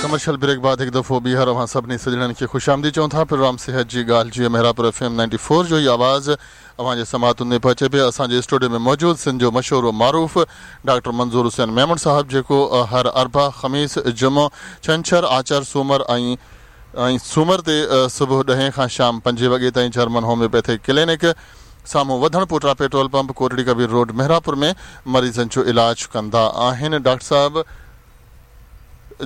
Commercial break بعد هڪ دفعو ٻيهر اوهان سڀني سڄڻن کي خوش آمديد چئون ٿا. پروگرام صحت جي ڳالهه جيئن Mehrabpur F M ninety four جو هي آواز اوهان جي سماعتن ۾ پهچي پيو. اسان جي اسٽوڊيو ۾ موجود سنڌ جو مشهور و معروف ڊاڪٽر منظور حسين ميمڻ صاحب جيڪو هر اربع، خميس، جمعو، ڇنڇر، آچر، سومر ۽ ۽ سومر تي صبح ڏهين کان شام پنجين وڳي تائين جرمن هوميوپيٿڪ ڪلينڪ سامهون وڌڻ پوٽا petrol pump Kotri Kabir road Mehrapur ۾ مريضن جو علاج ڪندا آهن. ڊاڪٽر صاحب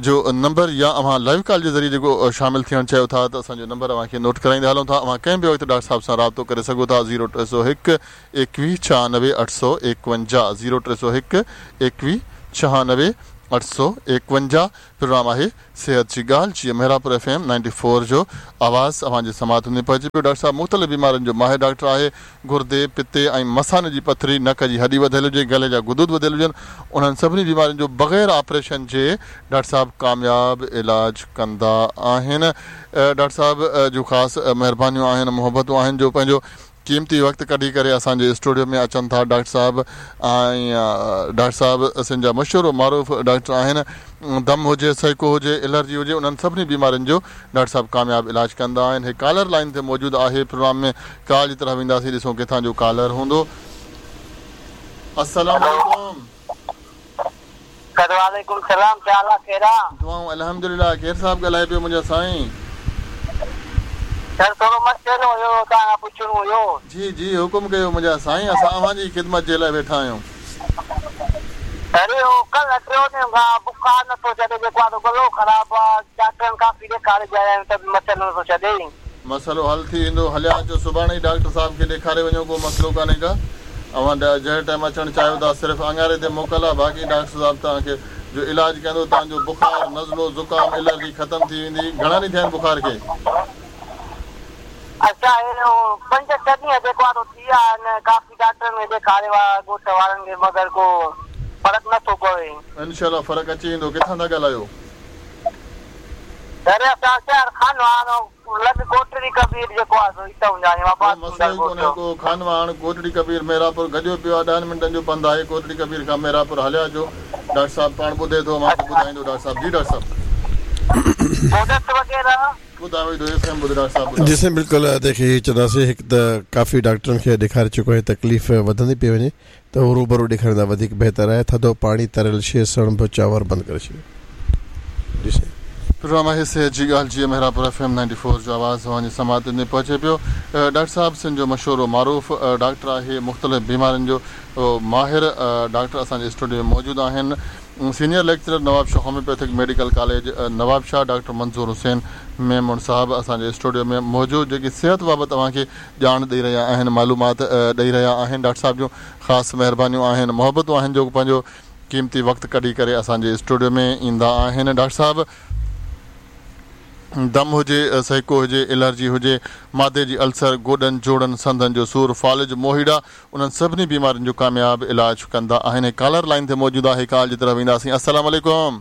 جو نمبر يا اوهان لائيو ڪال جي ذريعي جيڪو شامل ٿيڻ چاهيو ٿا ته اسان جو نمبر اوهان کي نوٽ ڪرائيندا هلون ٿا اوهان ڪنهن به وقت ڊاڪٽر صاحب سان رابطو ڪري سگهو ٿا زيرو 301 21 96 851 زيرو 301 21 96 851 پروگرام آهي صحت جي ڳالهه جيئن Mehrabpur F M ninety four جو آواز اوهان جي سماعتن ۾ پهچي پيو. ڊاڪٽر صاحب مختلف بيمارين جو ماهر ڊاڪٽر آهي. گردي، پتي ۽ مثاني جي پٿري، نڪ جي هڏي وڌيل هجي، گلي جا غدود وڌيل هجن، انهن سڀني بيمارين جو بغير آپريشن جي ڊاڪٽر صاحب ڪامياب علاج ڪندا آهن. ڊاڪٽر صاحب جون خاص مهربانيون آهن، محبتون آهن جو پنهنجو قيمتي وقت ڪڍي ڪري اسان جي اسٽوڊيو ۾ اچن ٿا ڊاڪٽر صاحب ۽ ڊاڪٽر صاحب سنڌ جا مشهور و معروف ڊاڪٽر آهن دم هجي سهڪو هجي الرجي هجي انهن سڀني بيمارين جو ڊاڪٽر صاحب ڪامياب علاج ڪندا آهن هي ڪالر لائين تي موجود آهي پروگرام ۾ ڪال جي طرف وينداسين ڏسون ڪٿان جو ڪالر هوندو السلام عليڪم. سر وعليڪم السلام ڪيا حال آ خير آ. دعائون الحمدلله ڪير صاحب ڳالهائي پيو منهنجا سائين. سر ٿورو مسئلو هيو توهان کان پڇڻو هيو. جي جي حڪم ڪيو منهنجا سائين اسان اوهان جي خدمت جي لاء ويٺا آهيون. سر اهو ڪلهه ٽيون ڏينهن کان بخار نٿو ڇڏي جيڪو آ سو گلو خراب آ ڊاڪٽرن ڪافي ڏيکاري به آيا آهيون ته به مسئلو نٿو ڇڏي. مسئلو حل ٿي ويندو هليا اچو سڀاڻي ئي ڊاڪٽر صاحب کي ڏيکاري وڃو ڪو مسئلو ڪانهي ڪا اوهان جنهن ٽائيم اچڻ چاهيو ٿا صرف اڱاري تي موڪل آ باقي ڊاڪٽر صاحب توهان کي جو علاج ڪندو توهان جو بخار نزلو زڪام الرجي ختم ٿي ويندي گهڻا ڏينهن ٿيا آهن بخار کي. اڇا هي پنج ڇهه ڏينهن جيڪو آ سو ٿي ويا آهن ڪافي ڊاڪٽرن کي ڏيکاريو آ ڳوٺ وارن کي مگر ڪو فرق نه ٿو پوي. انشاء الله فرق اچي ويندو ڪٿان ٿا ڳالهايو. سر اسان شهر خانواهڻ لڳ ڪوٽڙي ڪبير جيڪو آ سو اتان جا آهيون ڪو آباد مسئلو ٿيندڙ ئي ڳوٺ. ڪونهي ڪو خانواهڻ ڪوٽڙي ڪبير مهراپور گڏيو پيو آ ڏهن منٽن جو پنڌ آهي ڪوٽڙي ڪبير کان مهراپور هليا اچو ڊاڪٽر صاحب پاڻ ٻڌي ٿو اوهان کي اڇا ٻڌائيندو ڊاڪٽر صاحب جي ڊاڪٽر صاحب. پوء ڏس وغيره. ٻڌايو ٿو ايف ايم ٻڌ ڊاڪٽر صاحب ٻڌايو. جي سائين بلڪل ادي کي چونداسين هڪ ته ڪافي ڊاڪٽرن کي ڏيکاري چڪو آهي تڪليف وڌندي پئي وڃي ته هو روبرو ڏيکاريندا وڌيڪ بهتر آهي ٿڌو پاڻي تريل شيء سڻڀ چانور بند ڪري ڇڏيو جي سائين. پروگرام آهي صحت جي ڳالهه جيئن Mehrabpur F M ninety four جو آواز اوهان جي سماعتن تائين پهچي پيو ڊاڪٽر صاحب سنڌ جو مشهور و معروف ڊاڪٽر آهي مختلف بيمارين جو ماهر ڊاڪٽر اسان جي اسٽوڊيو ۾ موجود آهن senior lecturer Nawabshah homeopathic medical college Nawabshah doctor Manzoor Hussain Memon صاحب اسان جي اسٽوڊيو ۾ موجود جيڪي صحت بابت اوهان کي ڄاڻ ڏئي رهيا آهن معلومات ڏئي رهيا آهن ڊاڪٽر صاحب جون خاص مهربانيون آهن محبتون آهن جو پنهنجو قيمتي وقت ڪڍي ڪري اسان جي اسٽوڊيو ۾ ايندا آهن ڊاڪٽر صاحب دم هجي سهڪو هجي الرجي هجي معدي جي السر گوڏن جوڙن سنڌن جو سور فالج موهيڙا انهن سڀني بيمارين جو ڪامياب علاج ڪندا آهن هڪ ڪالر لائين تي موجود آهي ڪال جي طرف وينداسين السلام عليڪم.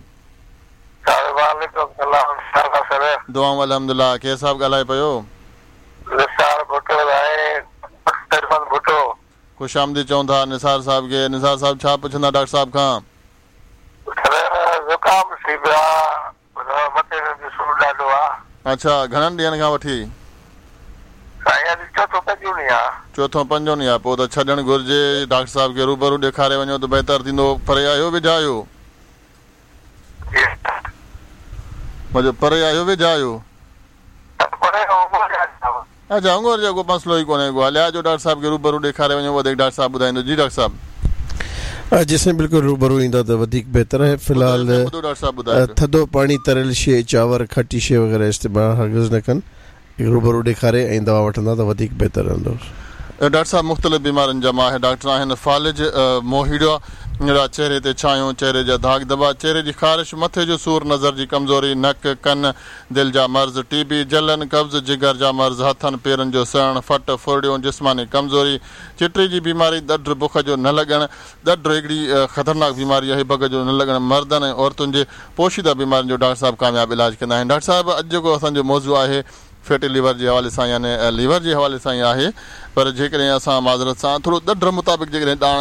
وعليڪم السلام ڇا حال آ سر. دعائون الحمدلله ڪير صاحب ڳالهائي پيو. نثار ڀٽو ۽ اختر احمد ڀٽو. خوش آمديد چئون ٿا نثار صاحب کي. نثار صاحب ڇا پڇندا ڊاڪٽر صاحب کان. سر زڪام ٿي پيو آ مٿي ۾ به سور ڏاڍو آ. اڇا گهڻن ڏينهن کان وٺي. سائين اڄ چوٿون پنجون ڏينهن آ. چوٿون پنجون ڏينهن آ پوء ته ڇڏڻ گهرجي ڊاڪٽر صاحب کي روبرو ڏيکاري وڃو ته بهتر ٿيندو پري آهيو ويجها آهيو. جي. مجو پري آهيو ويجها آهيو. اڇا هنگور جو ڪو مسئلو ئي ڪونهي ڪو هليا اچو ڊاڪٽر صاحب کي روبرو ڏيکاري وڃو وڌيڪ ڊاڪٽر صاحب ٻڌائيندو جي ڊاڪٽر صاحب. جي سائين بلڪل روبرو ايندا ته وڌيڪ بهتر آهي في الحال ٿڌو پاڻي تريل شيء چانور کٽي شيء وغيره استعمال هرگز نه ڪن روبرو ڏيکاري ۽ دوا وٺندا ته وڌيڪ بهتر رهندو. ڊاڪٽر صاحب مختلف بيمارين جا ماهر ڊاڪٽر آهن فالج، موهيڙا، چهري تي ڇايون، چهري جا داغ ڌٻا، چهري جي خارش، مٿي جو سور، نظر جي ڪمزوري، نڪ، ڪن، دل جا مرض، ٽي بي، جلن، قبض، جگر جا مرض، هٿن پيرن جو سڙڻ، ڦٽ، ڦرڙيون، جسماني ڪمزوري، چٽي جي بيماري، ڏڍ، بک جو نه لڳڻ، ڏڍ هڪڙي خطرناڪ بيماري آهي، بک جو نه لڳڻ، مردن ۽ عورتن جي پوشيده بيمارين جو ڊاڪٽر صاحب ڪامياب علاج ڪندا آهن. ڊاڪٽر صاحب اڄ جيڪو اسان جو موضوع آهي فيٽي ليور جي حوالي سان يعني ليور جي حوالي سان ئي آهي پر جيڪڏهن اسان معذرت سان ٿورو ڏڍ مطابق جيڪڏهن ڏاڻ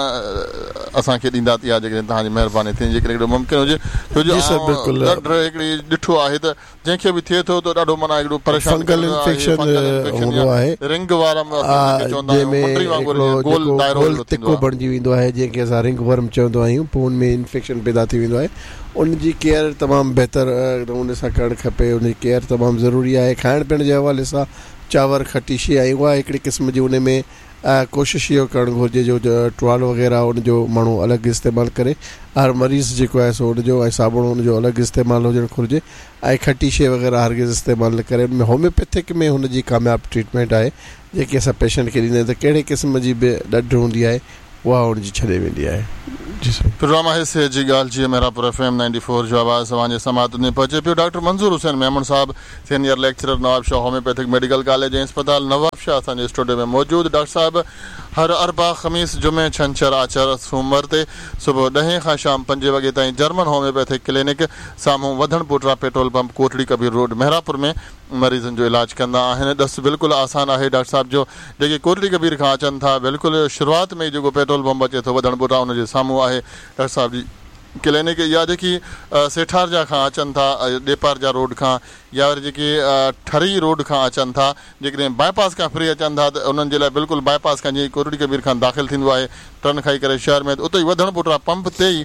اسان کي ڏيندا ته اها جيڪڏهن توهان جي مهرباني ٿيندي جيڪڏهن هڪڙو ممڪن هجي ڇو جو جي سر آئون بلڪل. ڏڍ هڪڙي ڏٺو آهي ته جنهن کي به ٿئي ٿو ته ڏاڍو معنيٰ هڪڙو پريشان فنگل ڪندڙ آهي انفيڪشن فنگل انفيڪشن هوندو يا آهي رنگ وارم اسين ان کي چوندا جنهن آهيون ۾ منڊري وانگر هڪڙو جيئن گول جيڪو دائرو گول هڪڙو ٿيندو تڪو آهي. بڻجي ويندو آهي جنهن کي اسان رنگ ورم چوندا آهيون پوء ان ۾ انفيڪشن پيدا ٿي ويندو آهي ان جي ڪيئر تمام بهتر نموني سان ڪرڻ کپي ان جي ڪيئر تمام ضروري آهي کائڻ پيئڻ جي حوالي سان چانور کٽي شي ۽ اها هڪڙي قسم جي ان ۾ ڪوشش اهو ڪرڻ گهرجي جو ٽوال وغيره ان جو ماڻهو الڳ استعمال ڪري هر مريض جيڪو آهي سو ان جو ۽ صابڻ ان جو الڳ استعمال هجڻ گهرجي ۽ کٽي شي وغيره هرگز استعمال نه ڪري ان ۾ هوميوپيٿڪ ۾ هن جي ڪامياب ٽريٽمينٽ آهي جيڪي اسان پيشنٽ کي ڏيندا آهيون ته ڪهڙي قسم جي به ڏڍ هوندي آهي اها ان جي ڇڏي ويندي آهي. جي سائين. پروگرام آهي صحت جي ڳالهه جيئن Mehrabpur F M ninety four جو آواز اوهان جي سماعتن ۾ پهچي پيو ڊاڪٽر منظور حسين ميمڻ صاحب senior lecturer Nawabshah homeopathic medical college ۽ اسپتال نوابشاهه اسان جي اسٽوڊيو ۾ موجود ڊاڪٽر صاحب هر اربع خميس جمعي ڇنڇر آچر سومر تي صبح ڏهين کان شام پنجين وڳي تائين جرمن هوميوپيٿڪ ڪلينڪ سامهون وڌڻ پوٽرا پيٽرول پمپ ڪوٽڙي ڪبير روڊ مهراپور ۾ مريضن جو علاج ڪندا آهن ڏس بلڪل آسان آهي ڊاڪٽر صاحب جو جيڪي ڪوٽڙي ڪبير کان اچن ٿا بلڪل شروعات ۾ ئي جيڪو پيٽرول پمپ اچي ٿو وڌڻ پوٽا ان جي سامهون آهي ڊاڪٽر صاحب جي ڪلينڪ يا جيڪي سيٺارجا کان اچن ٿا ڏيپارجا روڊ کان يا وري جيڪي ٺري روڊ کان اچن ٿا جيڪڏهن باء پاس کان ڦري اچن ٿا ته انهن جي لاء بلڪل باء پاس کان جيئن ڪوٽڙي ڪبير کان داخل ٿيندو آهي ٽرن کائي ڪري شهر ۾ ته اتي ئي وڌڻ پوٽا پمپ تي ئي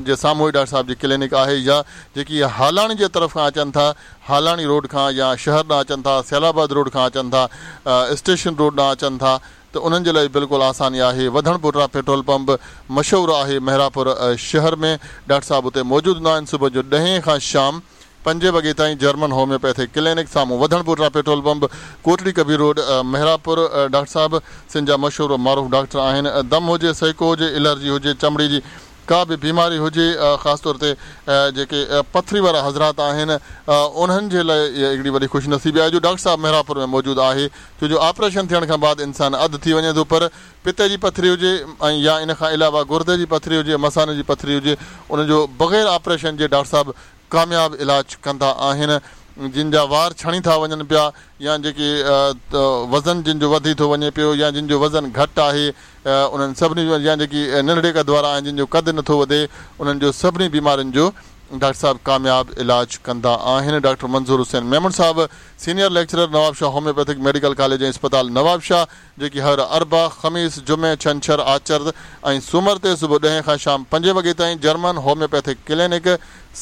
جي سامهون ئي ڊاڪٽر صاحب جي ڪلينڪ آهي يا جيڪي هالاڻي جي طرف کان اچن ٿا هالاڻي روڊ کان يا شهر ڏانهن اچن ٿا، سيال آباد روڊ کان اچن ٿا، اسٽيشن روڊ ڏانهن اچن ٿا ته انهن جي لاء بلڪل آساني آهي. وڌڻ پوٽرا پيٽرول پمپ مشهور آهي مهراپور شهر ۾ ڊاڪٽر صاحب اتي موجود هوندا آهن صبح جو ڏهين کان شام پنجين وڳي تائين جرمن هوميوپيٿڪ ڪلينڪ سامهون وڌڻ پوٽرا petrol pump Kotri Kabir road Mehrapur doctor صاحب سنڌ جا مشهور و معروف ڊاڪٽر آهن دم هجي سهڪو هجي الرجي هجي چمڙي جي ڪا به بيماري هجي خاص طور تي جيڪي پٿري وارا حضرات آهن انهن جي لاء اها هڪڙي وڏي خوش نصيبي آهي جو ڊاڪٽر صاحب مهراپور ۾ موجود آهي ڇو جو آپريشن ٿيڻ کان بعد انسان اڌ ٿي وڃي ٿو پر پتي جي پٿري هجي ۽ يا ان کان علاوه گردي جي پٿري هجي مثاني جي پٿري هجي ان جو بغير آپريشن جي ڊاڪٽر صاحب ڪامياب علاج ڪندا آهن جن جا وار ڇڻي ٿا وڃن پيا يا جيڪي وزن جن جو وڌي ٿو وڃي پيو يا جن جو وزن گهٽ آهي انهن سڀني جو يا جيڪي ننڍڙي قد وارا آهن جن جو قد نٿو وڌي انهن جو سڀني بيمارين جو ڊاڪٽر صاحب ڪامياب علاج ڪندا آهن ڊاڪٽر منظور حسين ميمڻ صاحب senior lecturer Nawabshah homeopathic medical college ۽ اسپتال نوابشاهه جيڪي هر اربع، خميس، جمعي، ڇنڇر، آچر ۽ سومر تي صبح ڏهين کان شام پنجين وڳي تائين جرمن هوميوپيٿڪ ڪلينڪ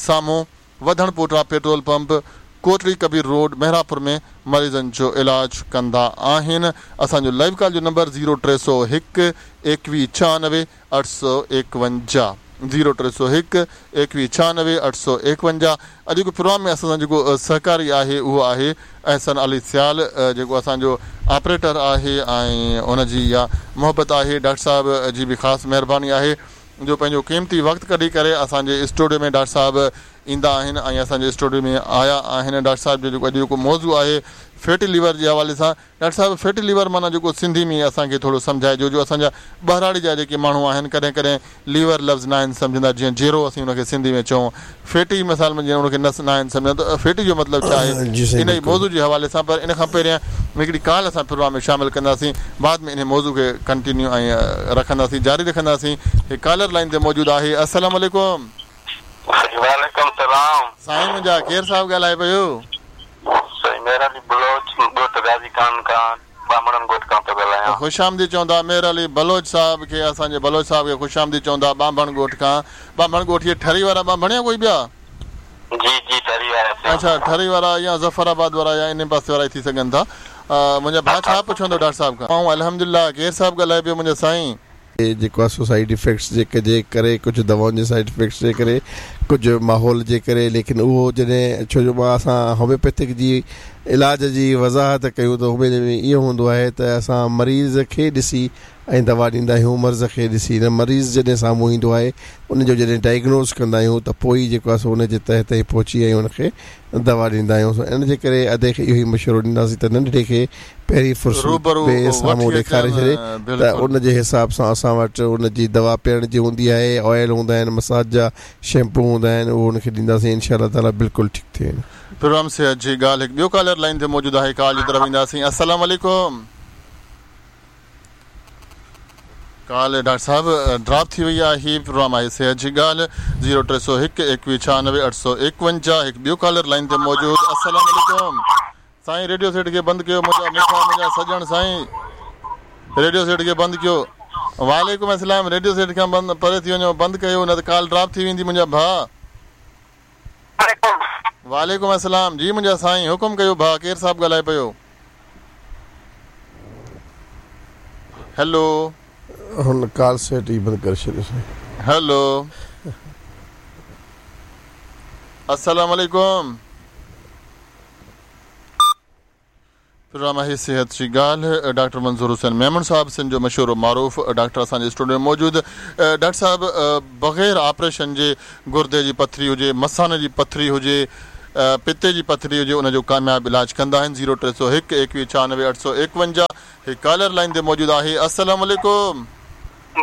سامهون وڌڻ پوٽرا petrol pump Kotri Kabir road Mehrapur ۾ مريضن جو علاج ڪندا آهن اسان جو لائيو ڪال جو نمبر زيرو 301 21 96 851 زيرو 301 21 96 851 اڄوڪي پروگرام ۾ اسان سان جيڪو سهڪاري آهي اهو آهي احسن علي سيال جيڪو اسان جو آپريٽر آهي ۽ ان جي اها محبت آهي ڊاڪٽر صاحب جي به خاص مهرباني آهي جو پنهنجو قيمتي وقت ڪڍي ڪري اسان جي اسٽوڊيو ۾ ڊاڪٽر صاحب ايندا آهن ۽ اسان جي اسٽوڊيو ۾ آيا آهن ڊاڪٽر صاحب جو جيڪو اڄ جيڪو موضوع آهي فيٽي ليور جي حوالي سان ڊاڪٽر صاحب فيٽي ليور معنيٰ جيڪو سنڌي ۾ اسان کي ٿورو سمجهائجو جو اسان جا ٻهراڙي جا جيڪي ماڻهو آهن ڪڏهن ڪڏهن ليور لفظ ناهن سمجهندا جيئن جيرو اسين ان کي سنڌي ۾ چئون فيٽي مثال ۾ جيئن ان کي نس ناهن سمجهندا ته فيٽي جو مطلب ڇا آهي جي سائين انهي بلڪل. موضوع جي حوالي سان پر ان کان پهريان هڪڙي ڪال اسان پروگرام ۾ شامل ڪنداسين بعد ۾ انهي موضوع کي ڪنٽينيو ۽ رکنداسين جاري رکنداسين هي ڪالر لائين تي موجود آهي السلام عليڪم. وعليڪم سلام. سائين منهنجا ڪير صاحب ڳالهائي پيو. سائين مهر علي بلوچ ڳوٺ غازي خان کان ٻانڀڻن ڳوٺ کان پيو ڳالهايان. خوش آمديد چوندا مهر علي بلوچ صاحب کي اسان جي بلوچ صاحب کي خوش آمديد چوندا ٻانڀڻ ڳوٺ کان ٻانڀڻ ڳوٺ اهي ٺري وارا ٻانڀڻ يا ڪوئي ٻيا؟ جي جي ٺري وارا ٿيا. اڇا ٺري وارا يا ظفر آباد وارا يا انهي پاسي وارا ئي ٿي سگهن ٿا منهنجا ڀاء ڇا پڇندو ڊاڪٽر صاحب کان. آئون الحمدلله ڪير صاحب ڳالهائي پيو منهنجا سائين. جيڪو آهي سو سائيڊ افيڪٽس جي جي ڪري ڪجهه دوائن جي سائيڊ افيڪٽس جي ڪري ڪجهه ماحول جي ڪري ليڪن اهو جڏهن ڇو جو مان اسان هوميوپيٿڪ جي علاج جي وضاحت ڪيون ته هوميو ۾ اهو هوندو آهي ته اسان مريض کي ڏسي ۽ دوا ڏيندا آهيون مرض کي ڏسي نه مريض جڏهن سامهون ايندو آهي ان جو جڏهن ڊائگنوز ڪندا آهيون ته پوء ئي جيڪو آهي سو ان جي تهه تائين پهچي ۽ ان کي دوا ڏيندا آهيون سو ان جي ڪري ادي کي اهو ئي مشورو ڏينداسين ته ننڍڙي کي پهرين فرصت روبرو ۾ سامهون وٺي ڏيکاري اچن ڇڏي ته بلڪل. ان جي حساب سان اسان وٽ ان جي دوا پيئڻ جي هوندي آهي آئل هوندا آهن مساج جا شيمپو هوندا آهن اهو ان کي ڏينداسين انشاء الله تعالي بلڪل ٺيڪ ٿي ويندو. پروگرام صحت جي ڳالهه هڪ ٻيو ڪالر لائين تي موجود آهي ڪال جي طرف اينداسين السلام عليڪم. ڪال ڊاڪٽر صاحب ڊراپ ٿي وئي آهي هي پروگرام آهي صحت جي ڳالهه زيرو 301 21 96 851 هڪ ٻيو ڪالر لائين تي موجود السلام عليڪم سائين ريڊيو سيٽ کي بند ڪيو منهنجا مٺا منهنجا سڄڻ سائين ريڊيو سيٽ کي بند ڪيو وعليڪم السلام ريڊيو سيٽ کان بند پري ٿي وڃو بند ڪيو نه ته ڪال ڊراپ ٿي ويندي منهنجا ڀاء وعليڪم السلام جي منهنجا سائين حڪم ڪيو ڀاء ڪير صاحب ڳالهائي پيو. هيلو. هن ڪال سيٽ ئي بند ڪري ڇڏيو سائين. هيلو السلام عليڪم. پروگرام آهي صحت جي ڳالهه ڊاڪٽر منظور حسين ميمڻ صاحب سنڌ جو مشهور و معروف ڊاڪٽر اسان جي اسٽوڊيو ۾ موجود ڊاڪٽر صاحب بغير آپريشن جي گردي جي پٿري هجي مثاني جي پٿري هجي پتي جي پٿري هجي ان جو ڪامياب علاج ڪندا آهن زيرو 301 21 96 851 هي ڪالر لائين تي موجود آهي السلام عليڪم.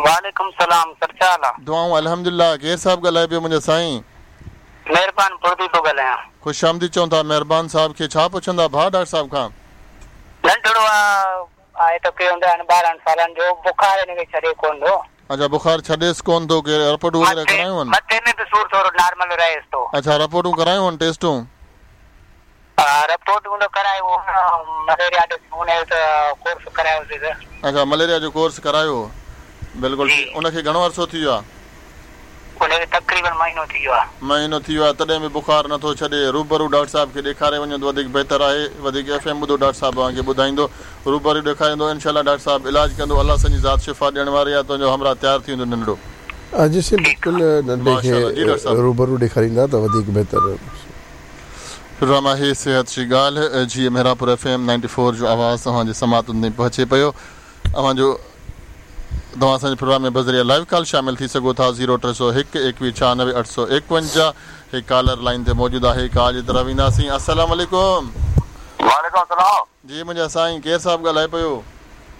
وعليڪم السلام سر ڇا حال آ. دعائون الحمدلله ڪير صاحب ڳالهائي پيو منهنجا سائين. مهربان بڙدي ٿو ڳالهايان. خوش آمديد چئون ٿا مهربان صاحب کي ڇا پڇندا ڀاء ڊاڪٽر صاحب کان. ننڍڙو آ آهي تقريبن ڏهن ٻارهن سالن جو بخار هن کي ڇڏي ڪون ٿو. اڇا بخار ڇڏيس ڪون ٿو ڪي رپورٽون وغيره ڪرايون هن. مٿي ۾ به سور ٿورو نارمل رهيس ٿو. اڇا رپورٽون ڪرايون هن ٽيسٽون. ها رپورٽون ته ڪرايون هن مليريا جو هن جو ته ڪورس ڪرايوسين ته. اڇا مليريا جو ڪورس ڪرايو هو بلڪل ٺيڪ ان کي گهڻو عرصو ٿي ويو آ. ان کي تقريبن مهينو ٿي ويو آ. مهينو ٿي ويو آ تڏهن به بخار نٿو ڇڏي روبرو ڊاڪٽر صاحب کي ڏيکاري وڃو ته وڌيڪ بهتر آهي وڌيڪ ايف ايم ٻڌو ڊاڪٽر صاحب اوهان کي ٻڌائيندو روبرو ڏيکاريندو انشاء الله ڊاڪٽر صاحب علاج ڪندو الله سائين جي ذات شفا ڏيڻ واري آ تنهنجو همراهه تيار ٿي ويندو ننڍڙو. ها جي سائين بلڪل ننڍي کي ماشاء الله جي ڊاڪٽر صاحب. روبرو ڏيکاريندا ته وڌيڪ بهتر رهندو. پروگرام آهي صحت جي ڳالهه جي Mehrabpur F M ninety four جو آواز اوهان جي سماعتن تائين پهچي پيو اوهان جو توهان اسان جي پروگرام ۾ بذريعه لائيو ڪال شامل ٿي سگهو ٿا زيرو 301 21 96 851 هي ڪالر لائين تي موجود آهي ڪال جي طرف وينداسين السلام عليڪم. وعليڪم السلام. جي منهنجا سائين ڪير صاحب ڳالهائي پيو.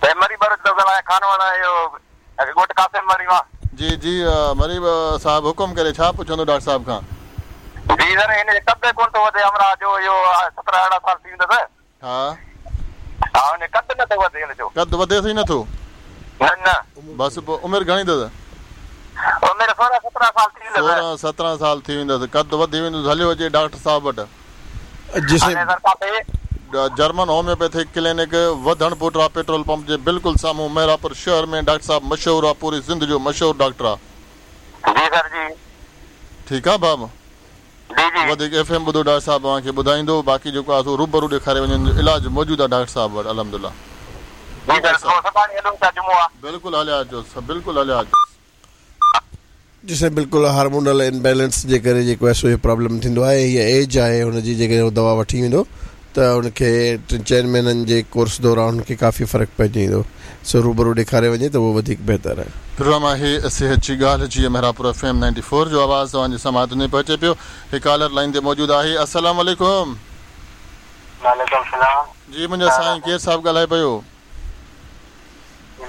سائين مري ٻروچ ٿو ڳالهايان خانواهڻ اهو ڳوٺ قاسم مري مان. جي جي مري صاحب حڪم ڪري ڇا پڇندو ڊاڪٽر صاحب کان. جي سر هن جي قد ڪونه ٿو وڌي همراهه جو اهو 17 18 سال ٿي ويندس. ها. ها هن جو قد نه ٿو وڌي هن جو. قد وڌيس ئي نه ٿو. نه نه. بس پوء عمر گهڻي اٿس. عمر 16 17 سال ٿي ويندس. 16 17 سال ٿي ويندس قد وڌي ويندس هليو اچي ڊاڪٽر صاحب وٽ. جي سائين. هاڻي سر ڪاٿي. جرمن هوميوپيٿڪ ڪلينڪ وڌڻ پوٽرا پيٽرول پمپ جي بلڪل سامهون مهراپور شهر ۾ ڊاڪٽر صاحب مشهور آ پوري سنڌ جو مشهور ڊاڪٽر آ. جي سر جي. ٺيڪ آ بابا. جي جي. وڌيڪ ايف ايم ٻڌو ڊاڪٽر صاحب اوهان کي ٻڌائيندو باقي جيڪو آ سو روبرو ڏيکاري وڃن جو علاج موجود آ ڊاڪٽر صاحب وٽ الحمدلله. جي سر پوء سڀاڻي هلون ٿا جمعو آ. بلڪل هليا اچو بلڪل هليا اچو. جي سائين بلڪل هارمونل امبيلنس جي ڪري جيڪو آهي سو اهو پرابلم ٿيندو آهي هيء ايج آهي هن جي جيڪڏهن هو دوا وٺي ويندو ته هن کي ٽن چئن مهينن جي ڪورس دوران هن کي ڪافي فرق پئجي ويندو سو روبرو ڏيکاري وڃي ته اهو وڌيڪ بهتر آهي. پروگرام آهي صحت جي ڳالهه جي Mehrabpur F M ninety four جو آواز توهان جي سماعتن تائين پهچي پيو هڪ ڪالر لائين تي موجود آهي السلام عليڪم. وعليڪم السلام. جي منهنجا سائين ڪير صاحب ڳالهائي پيو.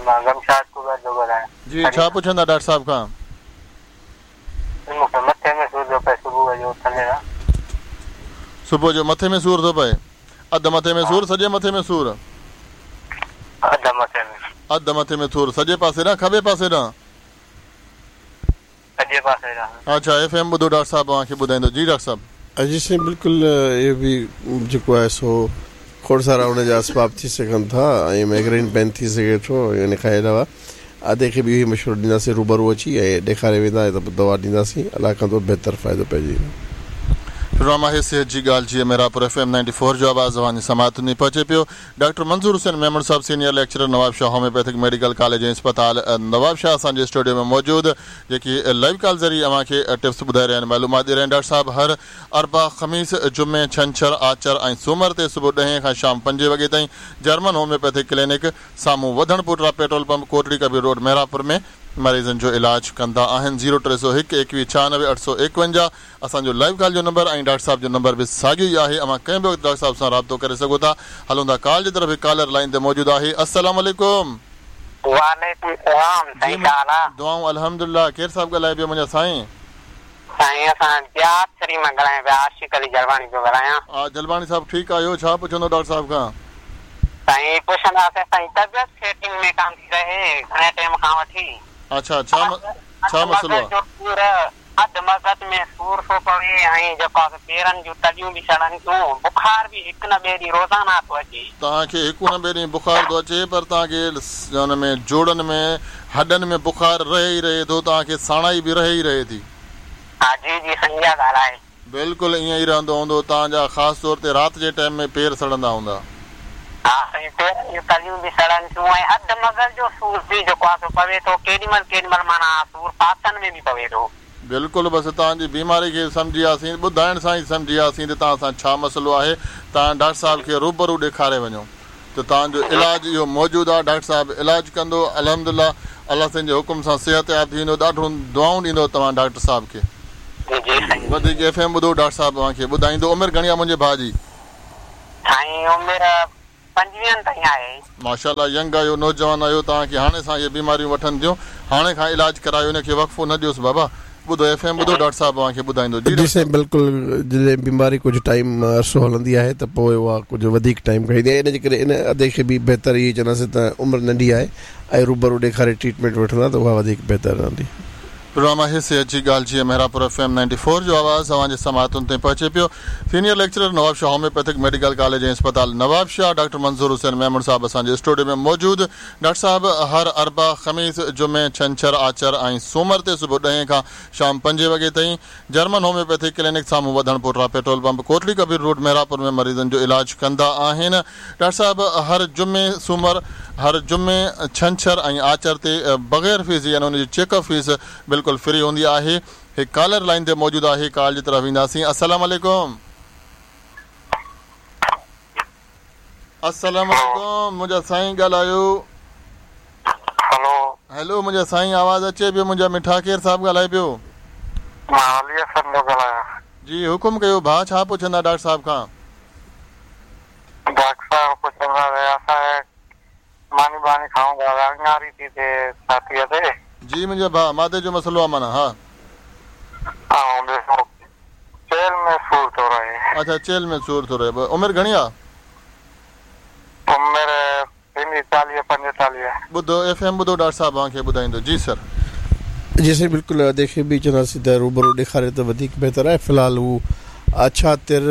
مان غمشاد ڪٻر ٿو ڳالهايان. جي ڇا پڇندا ڊاڪٽر صاحب کان. مون کي مٿي ۾ سور ٿو پئي صبح جو اٿندي سان. صبح جو مٿي ۾ سور ٿو پئي. اڌ مٿي ۾ سور سڄي مٿي ۾ سور. اڌ مٿي ۾. اڌ مٿي ۾ سور سڄي پاسي ڏانهن کٻي پاسي ڏانهن. سڄي پاسي ڏانهن. اڇا ايف ايم ٻڌو ڊاڪٽر صاحب اوهان کي ٻڌائيندو جي ڊاڪٽر صاحب. جي سائين بلڪل اهو به جيڪو آهي سو کوڙ سارا ان جا اسباب ٿي سگهن ٿا ۽ ميگرين پين ٿي سگهي ٿو ۽ ان کان علاوه ادي کي به اهو ئي مشورو ڏينداسين روبرو اچي ۽ ڏيکاري ويندا ته پوء دوا ڏينداسين الله ڪندو بهتر فائدو پئجي ويندو. پروگرام آهي صحت جي ڳالهه Jiye Mehrabpur F M ninety four جو آواز اوهان جي سماعتن تائين پهچي پيو. ڊاڪٽر منظور حسين ميمڻ صاحب senior lecturer Nawabshah homeopathic medical college ۽ اسپتال نوابشاهه اسان جي اسٽوڊيو ۾ موجود جيڪي لائيو ڪال ذريعي اوهان کي ٽپس ٻڌائي رهيا آهن معلومات ڏئي رهيا آهن ڊاڪٽر صاحب هر اربع خميس جمعي ڇنڇر آچر ۽ سومر تي صبح ڏهين کان شام پنجين وڳي تائين جرمن هوميوپيٿڪ ڪلينڪ سامهون وڌڻ پوٽرا petrol pump Kotri Kabir road Mehrabpur ۾ مريضن جو علاج ڪندا آهن زيرو 301 21 96 851 اسان جو لائيو ڪال جو نمبر ۽ ڊاڪٽر صاحب جو نمبر به ساڳيو ئي آهي اوهان ڪنهن به وقت ڊاڪٽر صاحب سان رابطو ڪري سگهو ٿا هلون ٿا ڪال جي طرف هڪ ڪالر لائين تي موجود آهي السلام عليڪم. وعليڪم السلام جي سائين ڇا حال آ. دعائون الحمدلله ڪير صاحب ڳالهائي پيو منهنجا سائين. سائين اسان ديار شريف مان ڳالهايون پيا عاشق علي جلباڻي پيو ڳالهايان. ها جلباڻي صاحب ٺيڪ آهيو ڇا پڇندو ڊاڪٽر صاحب کان. سائين پڇنداسين سائين طبيعت سيٽنگ ۾ ڪانه ٿي رهي گهڻي ٽيم کان وٺي. اڇا ڇا ڇا مسئلو آ. جو سور اڌ مغز ۾ سور ٿو پوي ۽ جيڪو آ سو پيرن جون تليون به سڙن ٿيون بخار به هڪ نه ٻئي ڏينهن روزانه ٿو اچي. توهان کي هڪ نه ٻئي ڏينهن بخار ٿو اچي پر توهان کي ان ۾ جوڙن ۾ هڏن ۾ بخار رهي ئي رهي ٿو توهان کي ساڻائي به رهي ئي رهي ٿي. ها جي جي سائين اها ڳالهه آهي. بلڪل ائين ئي رهندو هوندو توهان جا خاص طور تي رات جي ٽائيم ۾ پير سڙندا هوندا. ها سائين پيرن جون تليون به سڙن ٿيون ۽ اڌ مغز جو سور به جيڪو آهي سو پوي ٿو ڪيڏي مهل ڪيڏي مهل معنيٰ سور پاسن ۾ به پوي ٿو. بلڪل بس توهان جي بيماري کي سمجهي وياسين ٻڌائڻ سان ئي سمجهي وياسين ته توهان سان ڇا مسئلو آهي توهان ڊاڪٽر صاحب کي روبرو ڏيکاري وڃو ته توهان جو علاج اهو موجود آهي ڊاڪٽر صاحب علاج ڪندو الحمدلله الله سائين جي حڪم سان صحتياب ٿي ويندو ڏاڍو دعائون ڏيندو توهان ڊاڪٽر صاحب کي. جي سائين. وڌيڪ ايف ايم ٻڌو ڊاڪٽر صاحب اوهان کي ٻڌائيندو عمر گهڻي آهي منهنجي ڀاء جي. سائين عمر پنجويهن تائين آهي. ماشاءالله ينگ آهيو نوجوان آهيو توهان کي هاڻي سان اهي بيماريون وٺن ٿيون هاڻي کان علاج ڪرايو ان کي وقفو نه ڏيوس بابا ٻڌو ايف ايم ٻڌو ڊاڪٽر صاحب اوهان کي ٻڌائيندو جي جي ڊاڪٽر سائين صاحب. بلڪل جڏهن بيماري ڪجهه ٽائيم عرصو هلندي آهي ته پوء اها ڪجهه وڌيڪ ٽائيم کڻندي آهي ان جي ڪري ان ادي کي به بهتر اهي چونداسين ته عمر ننڍي آهي ۽ روبرو ڏيکاري ٽريٽمينٽ وٺندا ته اها وڌيڪ بهتر رهندي. پروگرام آهي صحت جي ڳالهه Jiye Mehrabpur F M ninety four جو آواز اوهان جي سماعتن تائين پهچي پيو. Senior lecturer Nawabshah homeopathic medical college ۽ اسپتال نوابشاهه ڊاڪٽر منظور حسين ميمڻ صاحب اسان جي اسٽوڊيو ۾ موجود. ڊاڪٽر صاحب هر اربع، خميس، جمعي، ڇنڇر، آچر ۽ سومر تي صبح ڏهين کان شام پنجين وڳي تائين جرمن هوميوپيٿڪ ڪلينڪ سامهون وڌڻ پوٽرا petrol pump Kotri Kabir road Mehrabpur ۾ مريضن جو علاج ڪندا آهن. ڊاڪٽر صاحب هر جمعي، سومر، هر جمعي، ڇنڇر ۽ آچر تي بغير فيس جي يعني ان جي چيڪ اپ فيس بلڪل فري هوندي آهي. هڪ ڪالر لائين تي موجود آهي ڪال جي طرف وينداسين. السلام عليڪم. السلام عليڪم منهنجا سائين ڳالهايو. هلو. هيلو منهنجا سائين آواز اچي پيو منهنجا مٺا ڪير صاحب ڳالهائي پيو. مان علي حسن ٿو ڳالهايان. جي حڪم ڪيو ڀاء ڇا پڇندا ڊاڪٽر صاحب کان. ڊاڪٽر صاحب پڇندا ته اسان ماني ٻاني کائون ٿا ته اڱاري ٿي ٿئي ڇاتيء تي. جي منهنجا ڀاء معدي جو مسئلو آ معنيٰ ها. ۽ ٻيو چيلهه ۾ سور ٿو رهي. اڇا چيلهه ۾ سور ٿو رهي عمر گهڻي آ. عمر ٿيندي چاليهه پنجيتاليهه. ٻڌو ايف ايم ٻڌو ڊاڪٽر صاحب اوهان کي ٻڌائيندو جي سر. جي سائين بلڪل ادي کي به چونداسين ته روبرو ڏيکاري ته وڌيڪ بهتر آهي في الحال هو اڇا تر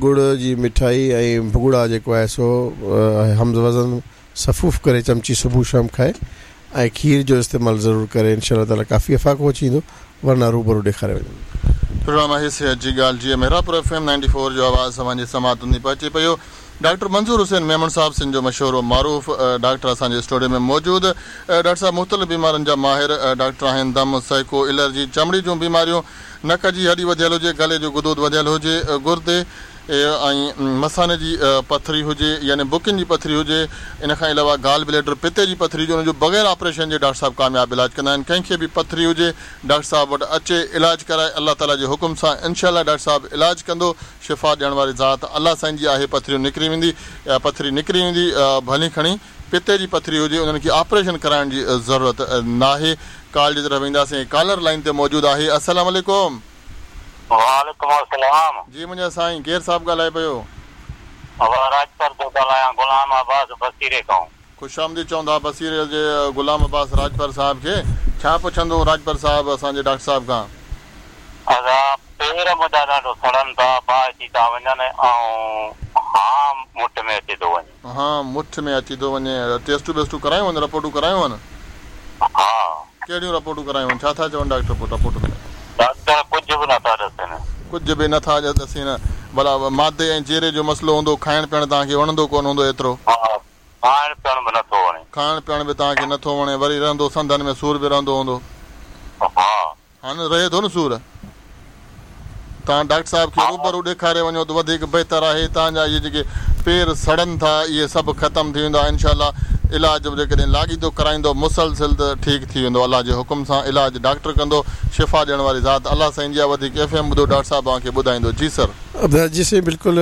ڳڙ جي مٺائي ۽ ڀڳڙا جيڪو آهي سو هم وزن سفوف ڪري چمچي صبح شام کائي ۽ کير جو استعمال ضرور ڪري انشاء الله تعالي ڪافي افاقو اچي ويندو ورنه روبرو ڏيکاري وڃن. پروگرام آهي صحت جي ڳالهه Jiye Mehrabpur F M ninety four جو آواز اوهان جي سماعتن تائين پهچي پيو. ڊاڪٽر منظور حسين ميمڻ صاحب سنڌ جو مشهور و معروف ڊاڪٽر اسان جي اسٽوڊيو ۾ موجود. ڊاڪٽر صاحب مختلف بيمارين جا ماهر ڊاڪٽر آهن دم، سهڪو، الرجي، چمڙي جون بيماريون، نڪ جي هڏي وڌيل هجي، گلي جو غدود وڌيل هجي، گردي ۽ مثاني جي پٿري هجي يعني بڪين جي پٿري هجي، ان کان علاوه گال بليڊر، پتي جي پٿري هجي ان جو بغير آپريشن جي ڊاڪٽر صاحب ڪامياب علاج ڪندا آهن. ڪنهن کي به پٿري هجي ڊاڪٽر صاحب وٽ اچي علاج ڪرائي الله تعالي جي حڪم سان انشاء الله ڊاڪٽر صاحب علاج ڪندو. شفا ڏيڻ واري ذات الله سائين جي آهي پٿريون نڪري ويندي يا پٿري نڪري ويندي ڀلي کڻي پتي جي پٿري هجي انهن کي آپريشن ڪرائڻ جي ضرورت ناهي ڪال جي طرف وينداسين ڪالر لائين تي موجود آهي السلام عليڪم. وعليڪم السلام. جي منهنجا سائين ڪير صاحب ڳالهائي پيو. مان راڄپر ٿو ڳالهايان غلام عباس بصيري کان. خوش آمديد چوندا بصيري جي غلام عباس راڄپر صاحب کي ڇا پڇندو راڄپر صاحب اسان جي ڊاڪٽر صاحب کان. ادا پير منهنجا ڏاڍو سڙن ٿا باهه ٿي ٿا وڃن ۽ هانء مٺ ۾ اچي ٿو وڃي. هانء مٺ ۾ اچي ٿو وڃي ٽيسٽون ٻيسٽون ڪرايون هن رپورٽون ڪرايون هن. ها. ڪهڙيون رپورٽون ڪرايون هن ڇا ٿا چون ڊاڪٽر پوء رپورٽن ۾. ڊاڪٽر ڪجهه به نٿا ڏسن. ڪجهه به نٿا ڏسين. ڀلا معدي ۽ جيري جو مسئلو هوندو، کائڻ پيئڻ توهان کي وڻندو ڪونه هوندو ايترو. ها، کائڻ پيئڻ به نٿو وڻي. کائڻ پيئڻ به توهان کي نٿو وڻي، وري رهندو سنڌن ۾ سور به رهندو هوندو. ها. ها نه رهي ٿو نه سور. توهان ڊاڪٽر صاحب کي روبرو ڏيکاري وڃو ته وڌيڪ بهتر آهي. توهان جا اهي جيڪي پير سڙن ٿا اهي سڀ ختم ٿي ويندا انشاء الله علاج به جيڪڏهن لاڳيتو ڪرائيندو مسلسل ته ٺيڪ ٿي ويندو الله جي حڪم سان علاج ڊاڪٽر ڪندو شفا ڏيڻ واري ذات الله سائين جي آهي وڌيڪ ايف ايم ٻڌو ڊاڪٽر صاحب اوهان کي ٻڌائيندو جي سر. جي سائين بلڪل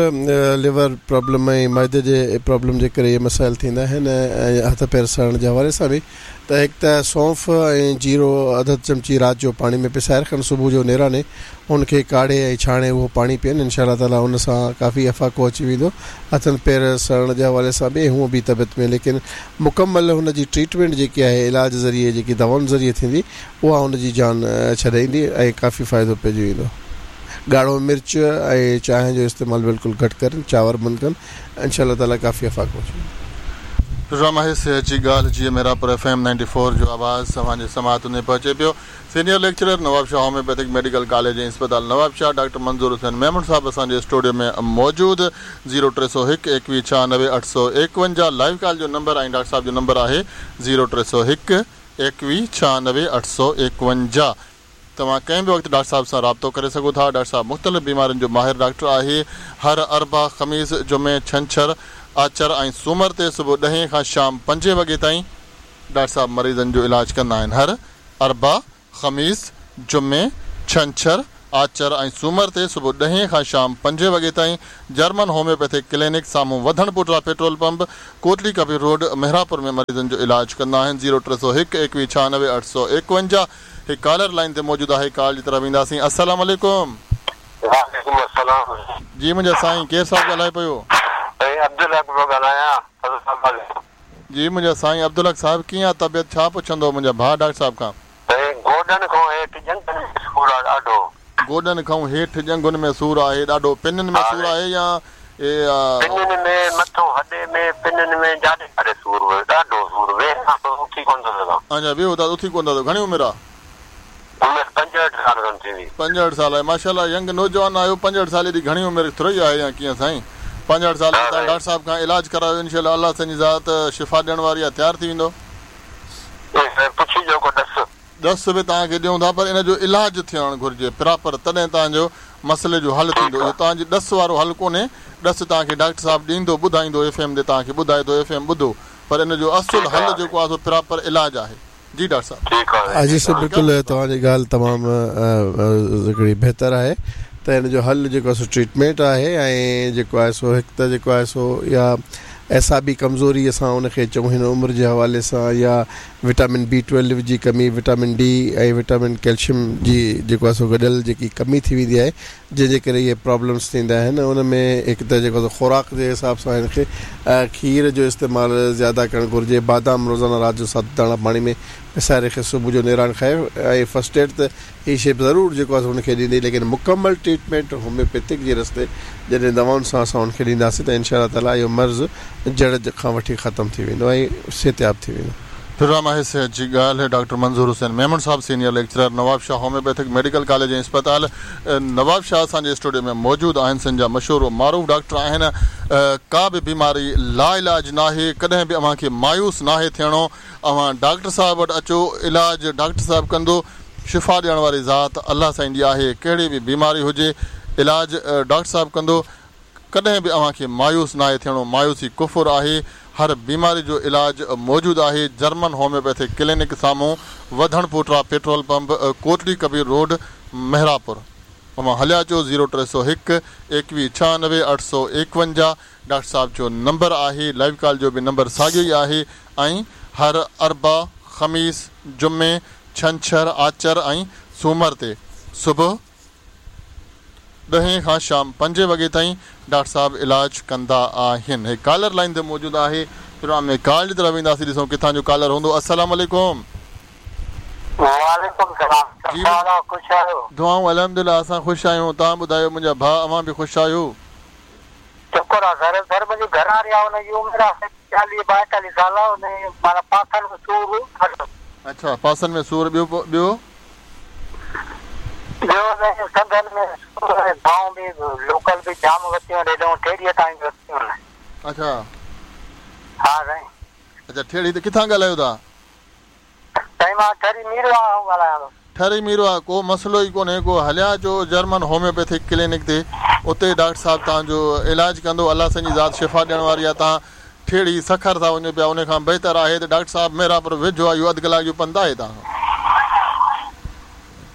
ليور پرابلم ۽ معدي جي پرابلم جي ڪري اهي مسائل ٿيندا آهن ۽ هٿ پير سڙڻ جي حوالي سان به ته هڪ ته سونف ۽ جيرو اڌ اڌ چمچي رات جو پاڻي ۾ پسائي رکن صبح جو نيراني ان کي ڪاڙهي ۽ ڇاڻي اهو پاڻي پيئن انشاء الله تعالي ان سان ڪافي افاقو اچي ويندو هٿن پير سڙڻ جي حوالي سان به ۽ هونء به طبيعت ۾ ليڪن مڪمل هن جي ٽريٽمينٽ جيڪي آهي علاج ذريعي جيڪي دوائن ذريعي ٿيندي اها هن جي جان ڇڏائيندي ۽ ڪافي فائدو پئجي ويندو ڳاڙهو مرچ ۽ چانهه جو استعمال بلڪل گهٽ ڪرن چانور بند ڪن انشاء الله تعالي ڪافي افاقو اچي ويندو. پروگرام آهي صحت جي ڳالهه جيئن Mehrabpur F M ninety four جو آواز اوهان جي سماعتن ۾ پهچي پيو. Senior lecturer Nawabshah homeopathic medical college ۽ اسپتال نوابشاهه ڊاڪٽر منظور حسين ميمڻ صاحب اسان جي اسٽوڊيو ۾ موجود زيرو 301 21 96 851 لائيو ڪال جو نمبر ۽ ڊاڪٽر صاحب جو نمبر آهي زيرو 301 21 96 851. توهان ڪنهن به وقت ڊاڪٽر صاحب سان رابطو ڪري سگهو ٿا. ڊاڪٽر صاحب مختلف بيمارين جو ماهر ڊاڪٽر آهي. هر اربع، خميس، جمعي، ڇنڇر، آچر ۽ سومر تي صبح ڏهين کان شام پنجين وڳي تائين ڊاڪٽر صاحب مريضن جو علاج ڪندا آهن. هر اربع، خميس، جمعي، ڇنڇر، آچر ۽ سومر تي صبح ڏهين کان شام پنجين وڳي تائين جرمن هوميوپيٿڪ ڪلينڪ سامهون وڌڻ پوٽرا petrol pump, Kotli Kabir road, Mehrapur ۾ مريضن جو علاج ڪندا آهن. زيرو 301 21 96 851. هڪ ڪالر لائين تي موجود آهي ڪال جي طرف وينداسين السلام عليڪم. وعليڪم السلام. جي منهنجا سائين ڪير صاحب ڳالهائي پيو. سائين عبدالحق پيو ڳالهايان فضل آباد کان. جي منهنجا سائين عبدالحق صاحب ڪيئن آ طبيعت ڇا پڇندو منهنجا ڀاء ڊاڪٽر صاحب کان. سائين گوڏن کان هيٺ ڄنگهن ۾ سور آ ڏاڍو. گوڏن کان هيٺ ڄنگهن ۾ سور آهي ڏاڍو پنن ۾ سور آهي يا پنن ۾ مٿو هڏي ۾ پنن ۾ جاڏي ڪاڏي سور هيو ڏاڍو سور ويهان ٿو اٿي ڪونه ٿو سگهان. اڇا ويهو ٿا اٿي ڪونه ٿا سگهو گهڻي عمر آ؟ عمر 65 سال کن ٿيندي. 65 سال آهي ماشاءالله ينگ نوجوان آهيو 65 سال ايڏي گهڻي عمر ٿورئي آهي يا ڪيئن سائين 65 سال ۾ توهان ڊاڪٽر صاحب کان علاج ڪرايو انشاء الله الله سائين جي ذات شفا ڏيڻ واري آهي تيار ٿي ويندو. پڇي جو ڪو ڏس. ڏس به توهان کي ڏيون ٿا پر ان جو علاج ٿيڻ گهرجي پراپر تڏهن توهان جو مسئلي جو حل ٿيندو اهو توهان جي ڏس وارو حل ڪونهي ڏس توهان کي ڊاڪٽر صاحب ڏيندو ٻڌائيندو ايف ايم تي توهان کي ٻڌائي ٿو ايف ايم ٻڌو پر ان جو اصل حل جيڪو آهي سو پراپر علاج آهي جي ڊاڪٽر صاحب. ها جي سر بلڪل توهان جي ڳالهه تمام هڪڙي بهتر آهي ته ان جو حل جيڪو آهي سو ٽريٽمينٽ آهي ۽ جيڪو آهي سو هڪ ته جيڪو آهي سو يا اعصابي ڪمزوري اسان ان کي چئون هن عمر جي حوالي سان يا وٽامن بي ٽويلو جي ڪمي، وٽامن ڊي ۽ وٽامن ڪيلشم جي جيڪو آهي سو گڏيل جيڪي ڪمي ٿي ويندي آهي جنهن جي ڪري اهي پرابلمس ٿيندا آهن ان ۾ هڪ ته جيڪو آهي سو خوراڪ جي حساب سان هن کي کير جو استعمال زياده ڪرڻ گهرجي بادام روزانه رات جو ست داڻا پاڻي ۾ پسائي رکي صبح جو نيران کائي ۽ فرسٽ ايڊ ته هي شيء به ضرور جيڪو آهي سو هن کي ڏيندي ليڪن مڪمل ٽريٽمينٽ هوميوپيٿڪ جي رستي جڏهن دوائن سان اسان هن کي ڏينداسين ته انشاء الله تعاليٰ اهو مرض جڙ کان وٺي ختم ٿي ويندو ۽ صحتياب ٿي ويندو. پروگرام آهي صحت جي ڳالهه ڊاڪٽر منظور حسين ميمڻ صاحب senior lecturer Nawabshah homeopathic medical college ۽ اسپتال نوابشاهه اسان جي اسٽوڊيو ۾ موجود آهن سنڌ جا مشهور و معروف ڊاڪٽر آهن ڪا به بيماري لاعلاج ناهي ڪڏهن به اوهان کي مايوس ناهي ٿيڻو اوهان ڊاڪٽر صاحب وٽ اچو علاج ڊاڪٽر صاحب ڪندو شفا ڏيڻ واري ذات الله سائين جي آهي ڪهڙي به بيماري هجي علاج ڊاڪٽر صاحب ڪندو ڪڏهن به اوهان کي مايوس ناهي ٿيڻو مايوسي ڪفر آهي هر بيماري جو علاج موجود آهي جرمن هوميوپيٿڪ ڪلينڪ سامهون وڌڻ پوٽرا petrol pump Kotli Kabir road Mehrapur اوهان هليا اچو زيرو 301 21 96 851 ڊاڪٽر صاحب جو نمبر آهي لائيو ڪال جو به نمبر ساڳيو ئي آهي ۽ هر اربع، خميس، جمعي، ڇنڇر، آچر ۽ سومر تي صبح ڏهين کان شام پنجين وڳي تائين ڊاڪٽر صاحب علاج ڪندا آهن. هي ڪالر لائين تي موجود آهي پروگرام ۾ ڪال جي طرف وينداسين ڏسون ڪٿان جو ڪالر هوندو السلام عليڪم. وعليڪم السلام جي ڇا حال آ خوش آهيو. دعائون الحمدلله اسان خوش آهيون توهان ٻڌايو منهنجا ڀاء اوهان به خوش آهيو. شڪر آ سر سر منهنجي گهر واري آ ان جي عمر آ چاليهه ٻائيتاليهه سال آ ان جي معنيٰ پاسن ۾ سور ڏاڍو. اڇا پاسن ۾ سور ٻيو ٻيو. ٻيو سائين سنڌن ۾ دوائون به لوڪل به جام ورتيون آهن هيڏانهن ٺيڙهيء تائين به ورتيون آهن. اڇا. ها سائين. اڇا ٺيڙهي ته ڪٿان ڳالهايو ٿا؟ سائين مان ٺري ميرواهه کان ڳالهايان ٿو. ٺري ميرواهه ڪو مسئلو ئي ڪونهي ڪو هليا اچو جرمن هوميوپيٿڪ ڪلينڪ تي اتي ڊاڪٽر صاحب توهان جو علاج ڪندو الله سائين جي ذات شفا ڏيڻ واري آهي توهان ٺيڙهي سکر ٿا وڃو پيا ان کان بهتر آهي ته ڊاڪٽر صاحب محرابپور ويجهو آهي اهو اڌ ڪلاڪ جو پنڌ آهي توهان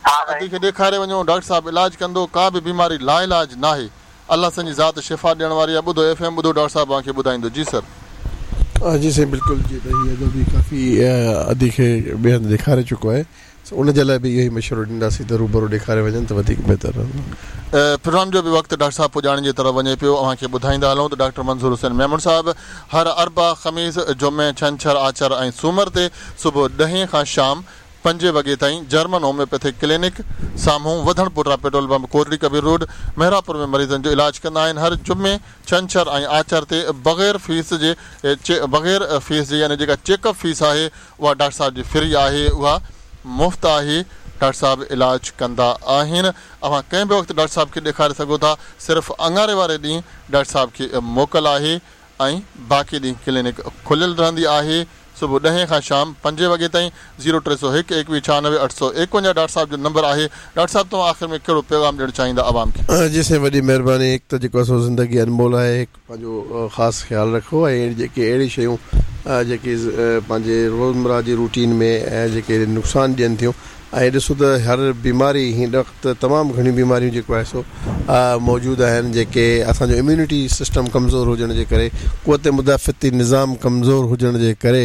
کان ادي کي ڏيکاري وڃو ڊاڪٽر صاحب علاج ڪندو ڪا به بيماري لاعلاج ناهي الله سائين جي ذات شفا ڏيڻ واري آهي ٻڌو ايف ايم ٻڌو ڊاڪٽر صاحب اوهان کي ٻڌائيندو جي سر. جي سائين بلڪل جي ته هي ادو به ڪافي ادي کي ٻئي هنڌ ڏيکاري چڪو آهي سو ان جي لاء به اهو ئي مشورو ڏينداسين ته روبرو ڏيکاري وڃن ته وڌيڪ بهتر رهندو. پروگرام جو به وقت ڊاڪٽر صاحب پڄاڻي جي طرف وڃي پيو اوهان کي ٻڌائيندا هلون ته ڊاڪٽر منظور حسين ميمڻ صاحب هر اربع، خميس، جمعي، ڇنڇر، آچر ۽ سومر تي صبح ڏهين کان شام پنجين وڳي تائين جرمن هوميوپيٿڪ ڪلينڪ سامهون وڌڻ پوٽا petrol pump Kotri Kabir road Mehrabpur ۾ مريضن جو علاج ڪندا آهن هر جمعي، ڇنڇر ۽ آچر تي بغير فيس جي بغير فيس جي يعني جيڪا چيڪ اپ فيس آهي اها ڊاڪٽر صاحب جي فري آهي اها مفت آهي ڊاڪٽر صاحب علاج ڪندا آهن اوهان ڪنهن به وقت ڊاڪٽر صاحب کي ڏيکاري سگهو ٿا صرف اڱاري واري ڏينهن ڊاڪٽر صاحب کي موڪل آهي ۽ باقي ڏينهن ڪلينڪ کليل رهندي آهي صبح ڏهين کان شام پنجين وڳي تائين زيرو 301 21 96 851 ڊاڪٽر صاحب جو نمبر آهي ڊاڪٽر صاحب توهان آخر ۾ ڪهڙو پيغام ڏيڻ چاهيندا عوام کي. جي سائين وڏي مهرباني هڪ ته جيڪو آهي سو زندگي انمول آهي هڪ پنهنجو خاص خيال رکو ۽ اهڙي جيڪي اهڙي شيون جيڪي پنهنجي روزمره جي روٽين ۾ جيڪي نقصان ڏين ٿيون ۽ ڏسو ته هر بيماري هن وقت تمام گهڻيون بيماريون جيڪو آهي سو موجود آهن جيڪي اسان جو اميونٽي سسٽم ڪمزور هجڻ جي ڪري قوت مدافعتي نظام ڪمزور هجڻ جي ڪري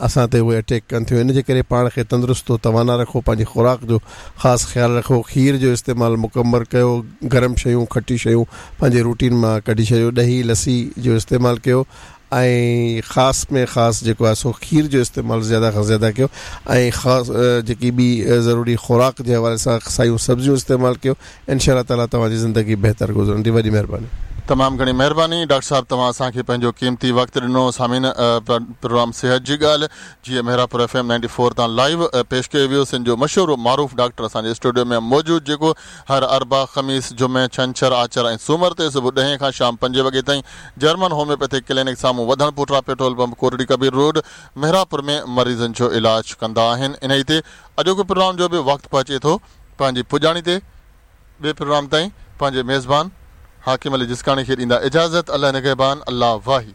اسان تي اهي اٽيڪ ڪن ٿيون ان جي ڪري پاڻ کي تندرست و توانا رکو پنهنجي خوراڪ جو خاص خيال رکو کير جو استعمال مڪمل ڪيو گرم شيون کٽي شيون پنهنجي روٽين مان ڪڍي ڇڏيو ڏهي لسي جو استعمال ڪيو ۽ خاص ۾ خاص جيڪو آهي سو کير جو استعمال زياده کان زياده ڪيو ۽ خاص جيڪي ٻي ضروري خوراڪ جي حوالي سان سايون سبزيون استعمال ڪيو انشاء الله تعالي توهان جي زندگي بهتر گذرندي وڏي مهرباني. تمام گهڻي مهرباني ڊاڪٽر صاحب توهان اسان کي پنهنجو قيمتي وقت ڏنو سامعين پروگرام صحت جي ڳالهه جيئن Mehrabpur F M ninety four تان لائيو پيش ڪيو ويو سنڌ جو مشهور و معروف ڊاڪٽر اسان جي اسٽوڊيو ۾ موجود جيڪو هر اربع، خميس، جمعي، ڇنڇر، آچر ۽ سومر تي صبح ڏهين کان شام پنجين وڳي تائين جرمن هوميوپيٿڪ ڪلينڪ سامهون وڌڻ پوٽرا petrol pump Kotri Kabir road Mehrabpur ۾ مريضن جو علاج ڪندا آهن انهي تي اڄوڪي پروگرام جو به وقت پهچي ٿو پنهنجي پڄاڻي تي ٻئي پروگرام تائين پنهنجي ميزبان حاڪم علي جسڪاڻي کي ڏيندا اجازت الله نگهبان الله واهي.